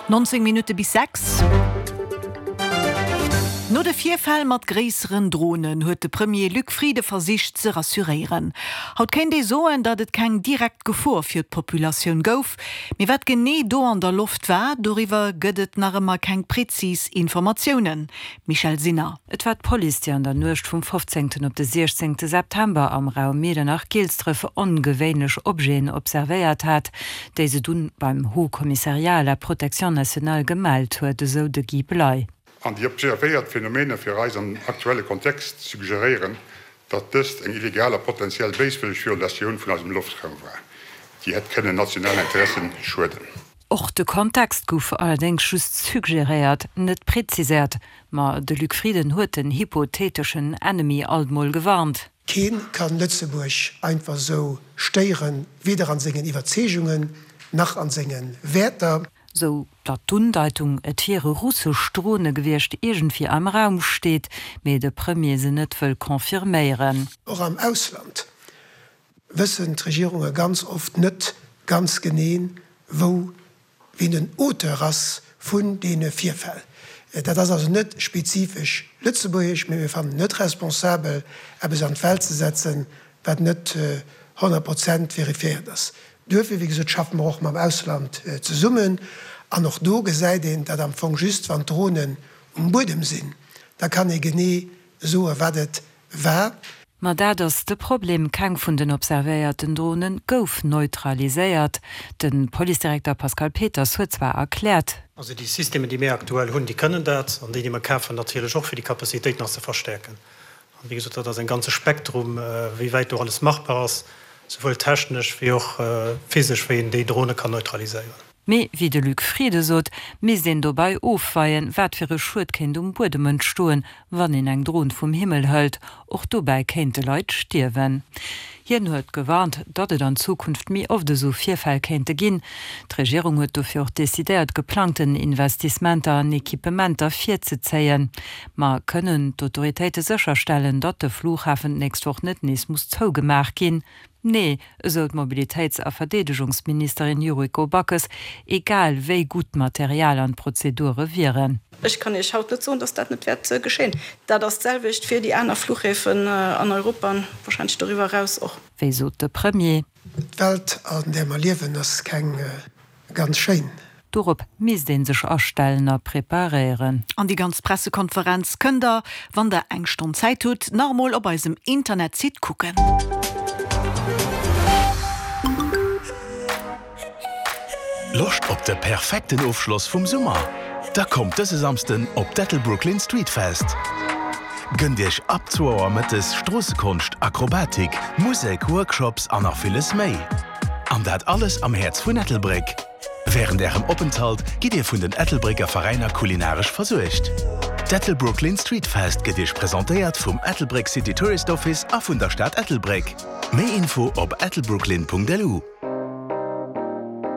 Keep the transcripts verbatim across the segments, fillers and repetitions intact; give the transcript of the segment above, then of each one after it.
Nonzéng Minutte bis sechs. No de Virfäll mat gréisseren Dronen huet de Premier Luc Frieden versicht ze rassuréieren. Haut kéint ee soen, datt et keng direkt Gefor fir d'Populatioun gouf, mee wat genee do an der Loft war, doriwwer gëtt et nach ëmmer keng prezis Informatiounen. Michèle Sinner. Et war d'Police, déi an der Nuecht vum fofzéngten op de siechzéngte September am Raum Miedernach-Gilsdref ongewéinlech Objeten observéiert hat, déi se dunn beim Haut Commissariat à la protection nationale gemellt huet, esou de Guy Bley. An déi observéiert Phänomener fir eis am aktuelle Kontext suggeréieren, datt dëst eng illegal a potentiell béiswëlleg Violatioun vun eisem Loftraum war, déi hätt kënnen nationalen Interessen schueden. Och de Kontext gouf allerdéngs just suggeréiert, net präziséiert. Ma de Luc Frieden huet den hypotheteschen Ennemi alt mol gewarnt. Keen kann Lëtzebuerg einfach esou stéieren, weder an sengen Iwwerzeegungen nach an sengen Wäerter. Sou datt d'Undeitung, et wiere russesch Drone gewiescht, iergendwéi am Raum steet, mee de Premier se net wëll confirméieren. Och am Ausland wëssen d'Regierunge ganz oft net ganz genee, wou, wien den Auteur ass vun deene Virfäll. Dat ass also net spezifesch lëtzebuergesch, mee mir fannen et net responsabel, eppes an d'Welt ze setzen, wat net honnert Prozent verifiéiert ass. Duerfir, wéi gesot, schaffe mer och mam Ausland zesummen. An och do gesäit een dat am Fong just, wann d'Dronen um Buedem sinn, da kann ee genee soen, wat et war. Ma dat ass de Problem, Keng vun den observéierten Drone gouf neutraliséiert. De Policedirekter Pascal Peters huet zwar erkläert. Also déi Systemer, déi mir aktuell hunn, déi kënnen dat, an déi, déi mer kafen, natierlech och, fir déi Capacitéit nach ze verstäerken. An wéi gesot, dat ass en ganze Spektrum, wéi wäit do alles machbar ass, souwuel technesch wéi och physesch, wéi een déi Drone kann neutraliséieren. Mee wéi de Luc Frieden sot, misst een dobäi ofweien, wat fir e Schued kéint um Buedem entstoen, wann een eng Dron vum Himmel hëlt. Och dobäi kéinte Leit stierwen. Hien huet gewarnt, datt et an Zukunft méi oft esou Virfäll kéinte ginn. D'Regierung huet dofir och decidéiert, geplangten Investissementer an Equipementer virzezéien. Ma kënnen d'Autoritéite sécherstellen, datt de Flughafen d'nächst Woch net nees muss zougemaach ginn? Nee, esou d'Mobilitéits a Verdeedegungsministerin Yuriko Backes, egal wéi gutt d'Material an d'Prozedure wieren. Ech kann Iech haut net soen, datt dat net wäert geschéien. Dat ass d'selwecht fir déi aner Fluchhäfen an Europa an wahrscheinlech doriwwer eraus och. Wéi sot de Premier? D'Welt, an där mer liewen, ass keng ganz schéin. Dorop misst ee sech astellen a preparéieren. An déi ganz Pressekonferenz kënnt der, wann der eng Stonn Zäit hutt, nach emol op eisem Internetsite kucken. Loscht op de perfekten Ofschloss vum Summer? Da kommt dëse Samsden op d'Ettelbrooklyn Street Fest! Gënnt Iech ab zwou Auer mëttes Stroossekonscht, Akrobatik, Musek, Workshops an nach villes méi. An dat alles am Häerz vun Ettelbréck. Wärend Ärem Openthalt gitt Dir vun den Ettelbrécker Veräiner kulinaresch versuergt. D'Ettelbrooklyn Street Fest gëtt Iech presentéiert vum Ettelbréck City Tourist Office a vun der Stad Ettelbréck. Méi Info op ettelbrooklyn.lu.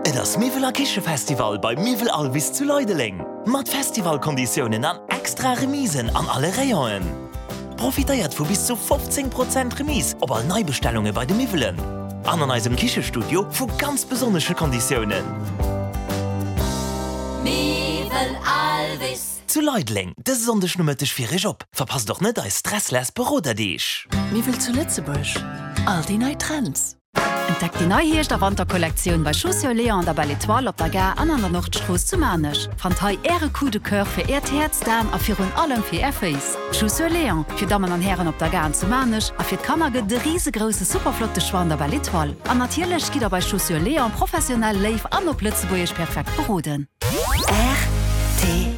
Et ass Miwwel a Kichefestival bei Miwwel Alvis zu Leideleng! Mat Festivalkonditiounen an extra Remisen an alle Rayonen! Profitéiert vu bis zu fofzéng Prozent Remise op all Neibestellunge bei de Miwwelen an an eisem Kichestudio vu ganz besonnesche Konditiounen. Miwwel Alvis. Zu Leideleng dëse Sonndeg Nomëtteg fir Iech op. Verpasst och net eis stressless Beroderdeeg! Miwwel zu Lëtzebuerg, all déi nei Trends. Entdeckt déi nei Hierscht a Wanterkollektioun bei Chaussures Léon an der Belle Etoile op der Gare an an der Nordstrooss zu Maarnech. Fannt hei Äre Coup de Coeur fir Äert Häerz, d'Aen a virun allem fir Är Féiss. Chaussures Léon, fir Dammen an Hären op der Gare an zu Maarnech a fir d'Kanner gëtt et e risegrousse superflotte Choix an der Belle Etoile. An natierlech gitt der bei Chaussures Léon professionell, léif an op Lëtzebuergesch perfekt beroden. Rtl.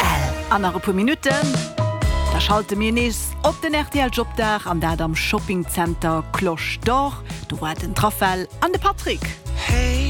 An nach e puer Minutten, da schalte mir nees op den rtl Jobdag an dat am Shoppingzenter Cloche d'Or. Do waarden d'Rafel an de Patrick.